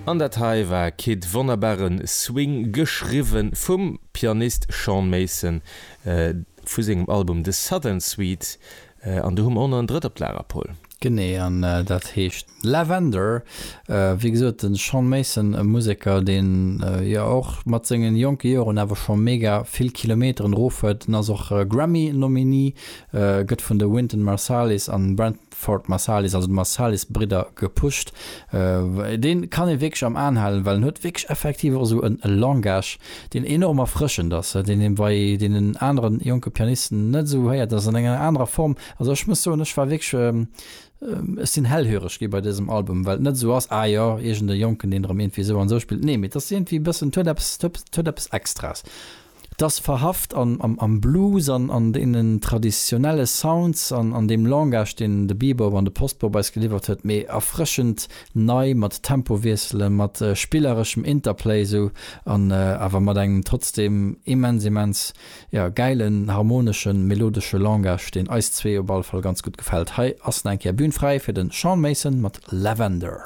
An dat hei war Kid, wonnerbare Swing, geschriwwe vum Pianist Sean Mason vu sengem Album The Southern Suite. An do hu mer och nach en drëtt op d'Lager, Paul. Genee, an dat heescht Lavender. Wéi gesot, de Sean Mason, e Museker, deen jo och mat sengen jonke Joren awer scho mega vill Kilometeren erof huet. En ass och Grammy-Nominee, gëtt vun de Wynton Marsalis an Branford Marsalis, also de Marsalis-Bridder, gepusht. Dee kann ee wierklech am Aen halen, well en huet wierklech effektiv och esou e Langage, deen enorm erfrëschend ass, deen ee bei deenen anere jonke Pianisten net esou héiert, ass an enger anerer Form. Also ech muss soen, ech war wierklech, ech sinn hellhöreg gi bei dësem Album, well et net esou ass, ah jo, iergend e Jonken, deen erëm iergendwéi esou an esou spillt. Nee, mee et ass iergendwéi e bëssen, et huet eppes, et huet eppes Extraes. Et ass verhaft am Blues an an deenen traditionelle Sounds an an deem Langage, deen de Bebop an de Postbop eis geliwwert huet, mee erfrëschend nei mat Tempowiesselen, mat spillereschem Interplay esou an awer mat engem trotzdem immens, immens, jo, gäilen, harmoneschen, melodesche Langage, deen eis zwee op alle Fall ganz gutt gefält. Hei ass nach eng Kéier Bühn fräi fir de Sean Mason mat Lavender.